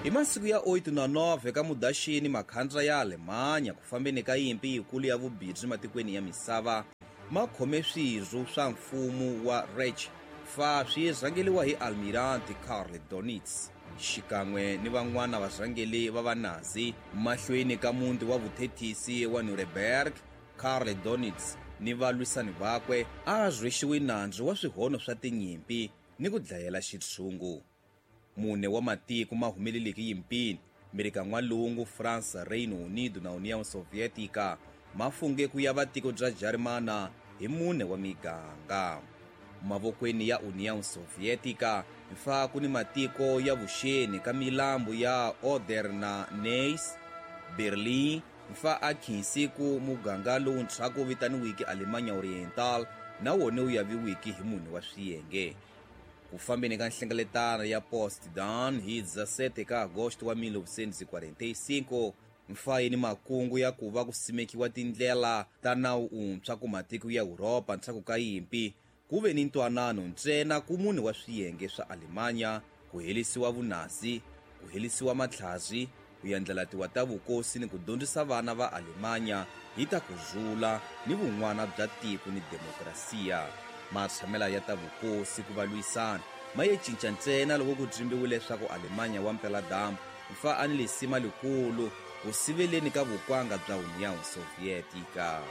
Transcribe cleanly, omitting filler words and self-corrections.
Hi masiku ya 8 na 9 ka Mudaxini, makhandla ya Alemanya ku fambeni ka yimpi yikulu ya vubirhi matikweni ya misava ma khome swirho swa mfumo wa Reich fa swi rhangeliwa hi Almirante Karl Donitz xikan'we ni van'wana varhangeli va Vanazi mahlweni ka muti wa vuthethisi wa Nuremberg. Karl Donitz ni valwisani vakwe a rhwexiwe nandzu wa swihono swa tinyimpi ni ku dlayela xitshungu. Mune wa matiko ma humeleleke yimpini, Merika N'walungu, Fransa, Reino Unido na União Soviética, ma funge ku yava tiko bya Jarimana hi mune wa miganga. Mavokweni ya União Soviética mfa ku ni matiko ya vuxeni ka milambu ya Oder na Neisse, Berlin mfa a khinsi ku muganga lowuntshwa ku vitaniwiki Alemanha Oriental na wona wu yaviwiki hi mune wa swiyenge. Ku fambeni ka nhlengeletano ya Potsdam hi 17 ka Agosto wa 1945, mfa yi ni makungu ya ku va ku simekiwa tindlela ta nawu untshwa ku matiko ya Yuropa ndzhaku ka yimpi, ku ve ni ntwanano ntsena ku mune wa swiyenge swa Alemanya, ku herisiwa Vunazi, ku herisiwa matlhari, ku yandlalatiwa ta vukosi ni ku dyondzisa vana va Alemanya hi ta ku rhula ni vun'wana bya tiko ni demokrasiya. Matshamela ya ta vukosi ku va lwisana ma ye cinca ntsena loko ku dzimbiwe leswaku Alemanya wa mpeladyambu mfa a ni lisima likulu ku siveleni ka vukwanga bya União Soviética.